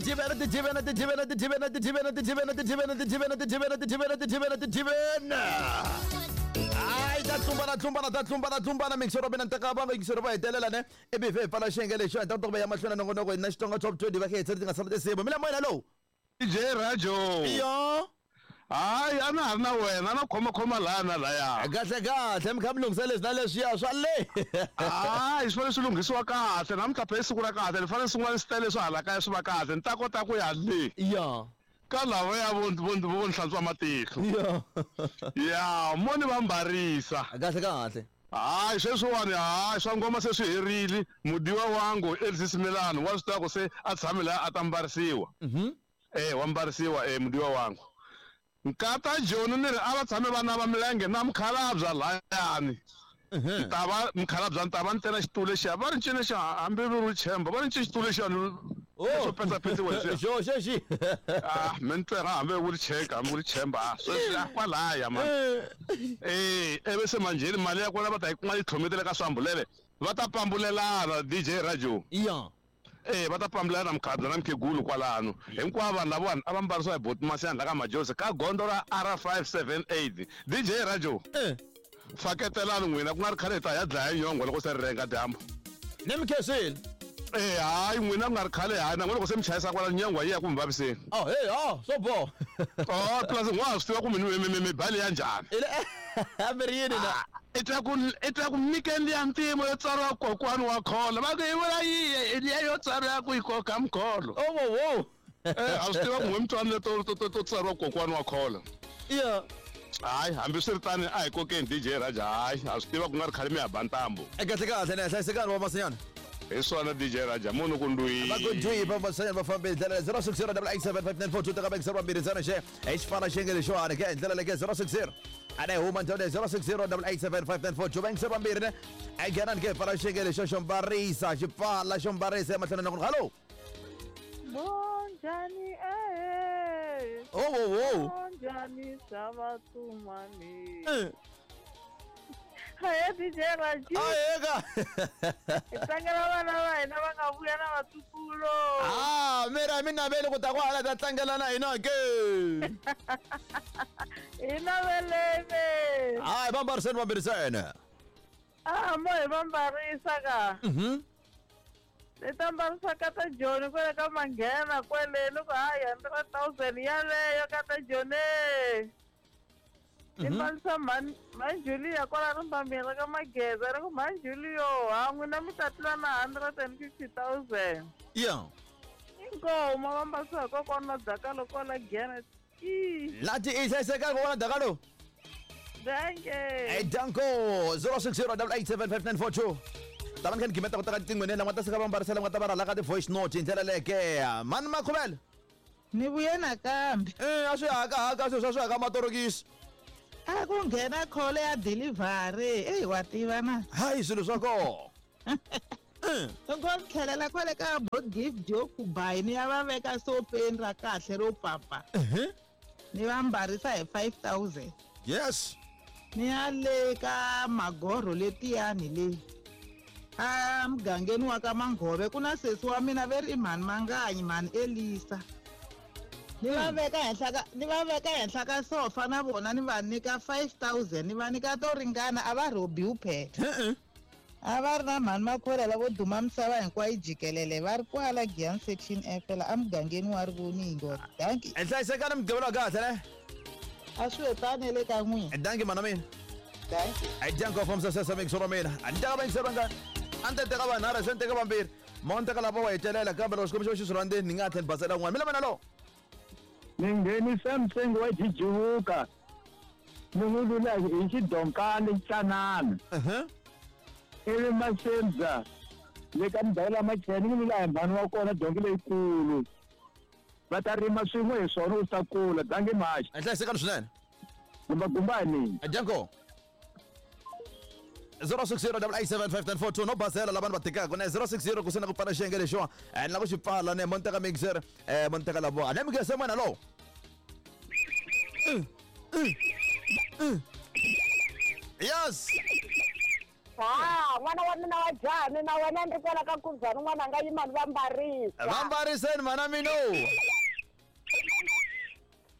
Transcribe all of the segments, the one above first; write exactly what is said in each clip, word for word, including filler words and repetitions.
Tijivena tijivena tijivena tijivena tijivena tijivena tijivena tijivena tijivena tijivena tijivena tijivena. Ai ta tlumbana tlumbana ta tlumbana tlumbana mixero bena ntaka ba mixero ba hetelela ne E B V pala xengele xo ta to ya mahlweni nongonoko na Xitsonga Top twenty va khe ti nga sala tinsimu mina moyena lowu. D J Rajo. Yo. Hayi, a na ha ri na wena, na khomakhoma laha na laya. Kahle kahle, mi kha mi lunghisa leswi na leswiya swa le. Hayi, swi fanele swi lunghisiwa kahle namuntlha phe i siku ra kahle, ni fanele swin'wana swi tele swi hala kaya swi va kahle ni ta kota ku ya le ya ka lava ya vo vo vo ni hlantswa matihlo. Ya ya mo ni va mbarisa. Kahle kahle. Hayi, sweswiwani hayi, swa ngoma se swi herile. Mudiwa wangu Elvis Milano wa swi tiva ku se a tshame laha a ta mbarisiwa. Mhm eh wa mbarisiwa eh mudiwa wangu nkata Joni ni ri a va tshame vana va milenge na mukhalabya layani. Mhm ta va mukhalabya ni ta va ni tena xitulu lexiya va ri ncini xa hambi vi ri chemba va ri nci xitulu lexiyani Oh. swo petsapetsiwa leswiya. Xo xexi. Ah, mi ni twela hambi wu ri cheka hambi wu ri chemba, ah, sweswi a kwalaya man. Eh, ivi se manjheni mali ya kona va ta yi kuma yi tlhometele ka swambulele va ta pambulelana, D J Rajo. Ya eh va ta pambulelana mukhalabye na mukhegulu kwalano. Hinkwavo vanhu lavawani a va mbarisiwa hi botimasiyani la ka Majosi ka gondzo ra R five seven eight, D J Rajo. Eh faketelani n'wina, ku nga ri khale hi ta ya dlaya nyongwa loko se ri renga dyambu. Ni mi khensile. Eh, hayi, n'wina ku nga ri khale, hayi, na n'wina loko se mi chayisa kwala nyongwa yi ya ku mi vaviseni. Oh hey, oh swo boha. Oh, plus n'wa swi tiva ku mi mi mi mi bali ya njhani. Ile a mi ri yini na? Ah, i twa ku i twa ku nyikeni liya ntimo yo tsariwa "Kokwani wa kholo", va ku i vula yiye liya yo tsariwa ku yi koka mkholo. Oh wo wo. Eh, a swi tiva ku n'we mitwani leto to to to tsariwa "Kokwani wa kholo". Ya Hayi, hambiswiritano a hi kokeni, D J Raja. Hayi, a swi tiva ku nga ri khale mi ya ba ntambu. Kahle kahle, ne hlayisekani wa masinyana. Hi swona, D J Raja, munhu ku ndwi. Va ku ndwi va masanyana va fambe hi ndlela zero six zero eight eight seven five nine four two teka bank zero mbirhi ntsena xe hi xifana xenge lexiwani ke hi ndlela leke zero six zero a ne huma ndhawu leyi zero six zero eight eight seven five nine four two bank zero mbirhi ne a nghenani ke pfala xenge lexo xo mbarisa xi pfala xo mbarisa emahlweni na ku hallo. Bonjani eh. Oh wo wo. Bonjani sabatumani. Eh. Hayi, D J Raji. Aheka. Hi tlangela vana va hina va nga vuya na vatukulu. Ah, mira mi naveli ku ta kwala ta tlangela na hina ke. Hi naveleni. Hayi, va mbariseni vambirisene. Ah, mo hi va mbarisa ka. Mhm Ni ta mbarisa ka ta Joni kwele ka Manghena kwele loko hayi hundred thousand yaleyo ka ta Joni. Ni mbarisa mhani mhani Julia kwala rimbambeni ka Mageza ri ku mhani Julio ha n'wina mi ta tlula na hundred and fifty thousand. Ya Inkomu va mbarisa hi kokwana na Dakalo kwala Giyani. I lati i hlayisekani kokwana Dakalo. Danke. Hey, danko zero six zero eight eight seven five nine four two ta va ni kha ni gimeta ku teka tinqingweni lama ta sika va mbarisela nga ta va rhala ka ti-voice note hi ndlela leke mani makhuvela. Ni vuye nakambe. E a swi haka haka swilo swa swi haka matorokisi. A ku nghena call ya delivery eyi wa tiva na. Hayi, swilo swa koho. Loko ni tlhelela kwale ka bo Gift yo kubayi ni ya va veka sofeni ra kahle ro papa ni va mbarisa hi five thousand. Yes. Ni ya le ka magorho letiyani le a mugangeni wa ka Manghove ku na sesi wa mina ve ri i mhani Manganyi, mhani Elisa, ni va veka henhla ka ni va veka henhla ka sofa na vona ni va nyika five thousand, ni va nyika to ringana a va rhobiwi phela. A va ri na mhani Makhwela lavo duma misava hinkwayo jikelele va ri kwala Giyani Section F la emugangeni wa Rivoningo. Danki. Hi hlayisekani mugqivela wa kahle ne. A swi tani le ka n'wina. Danki mana mina. Danki. Hi danko from sasesa mix ra mina a ni teka vayingiseri vangani a ni ta teka vanharhu se ni teka vambirhi mo ni teka lava wa hetelela kambe loko xikombiso xi swi rhandzeni ni nga tlhela ni basela un'wana mina mina lo. Ni nghenisa mtsengo wa jijivuka ni n'wi lula hi xidonkani tsanana. Uh-huh. Ivi masembza le ka ndhawu la macheni ni lula hi mhani wa kona donki leyikulu va ta rima swin'we hi swona u ta kula dangi maxi. Hi hlayisekani swinene. Gumbagumbani. Danko zero six zero eight eight seven five nine four two no basela lava ni va tekaka ne zero six zero ku sena ku pfala xiyenge lexiwa ni lava ku xi pfala ne mo ni teka mixer eh mo ni teka lavo ne mi mwana lowo. Yes. Ha, n'wana wa mina wa jani na wena ni ri kwala ka Nkuzana n'wana a nga yima ni va mbarisa. Va mbariseni mhana mino.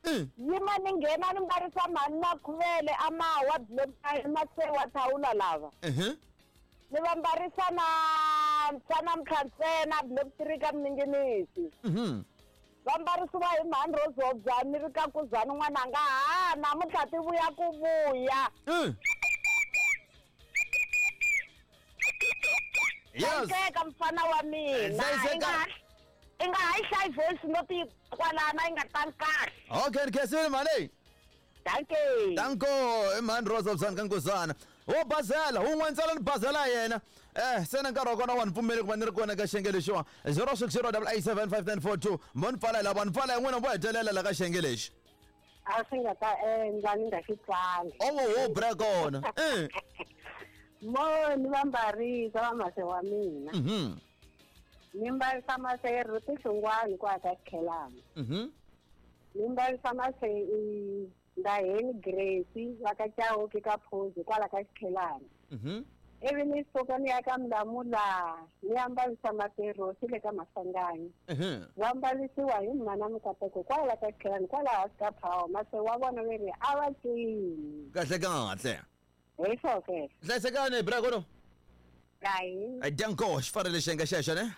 Mm. Yima ni nghena ni mbarisa mhani Makhuvele a mawa mase wa thawula lava. Mhm. Ni va mbarisa na mfana Mkhansena block three ka Mninginisi. Mhm. Va mbarisiwa hi mhani Rozobya ni ri ka Nkuzana n'wana nga ha namuntlha ti vuya ku vuya. Mm. Yes. Hlayiseka mfana wa mina. Hlayiseka. I nga ha- i nga ha yi hlayi voice note yi kwalana yi nga tali kahle. Okay, khensile mhani. Dankie. Danko, i mhani Rose Obsani ka Nkuzana. Wo bazela, wun'we ntsena ni bazela yena. Eh, se na nkarhi wa kona wa ni pfumeli ku va ni ri kona ka xiyenge lexiwa. zero six zero double eight seven five nine four two. Mo ni pfala lava ni pfala hi n'wina vo hetelela la ka xiyenge lexi. A swi nga ta endla ni nga xi tlangi. Owo wo bra kona. Eh. Mo ni va mbarisa va mase wa mina. Mhm. Ni mbarisa mase Ruti Hlungwani kwa ka Khelana. Mhm. Ni mbarisa mase i Ndaheni Grace va ka Chauke ka Phuzi kwala ka Xikhelana. Mhm. Ivi ni suka ni ya ka Mlamula ni ya mbarisa mase Rosi le ka Maswanganyi. Mhm. Va mbarisiwa hi mhana Mikateko kwala ka Xikhelana kwala hansi ka Power mase wa vona ve ri a va cini. Kahle kahle. Hi swo ke. Hlayisekani bra kona. Kahi. Ai danko, xi farile xiyenge xexo ne?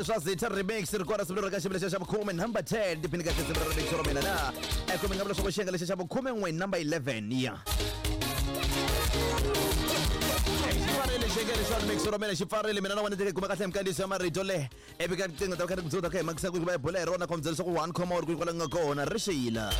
Swa Zitha remix ri kona siku leri ka xivilo xa vukhume number ten tiphini ka tinsimu ra remix ra mina na e kumbe nga vula leswaku xiyenge lexi xa vukhume n'we number eleven ya xi pfarile xiyenge lexi xa remix ra mina xi pfarile mina na wena teke kuma kahle hi minkandziyiso ya marito le ivi ka riqingho ta kha ri ku ta kha hi makisa ku va hi bula hi rona khombyela leswaku one comma uri ku kwala nga kona ri xila.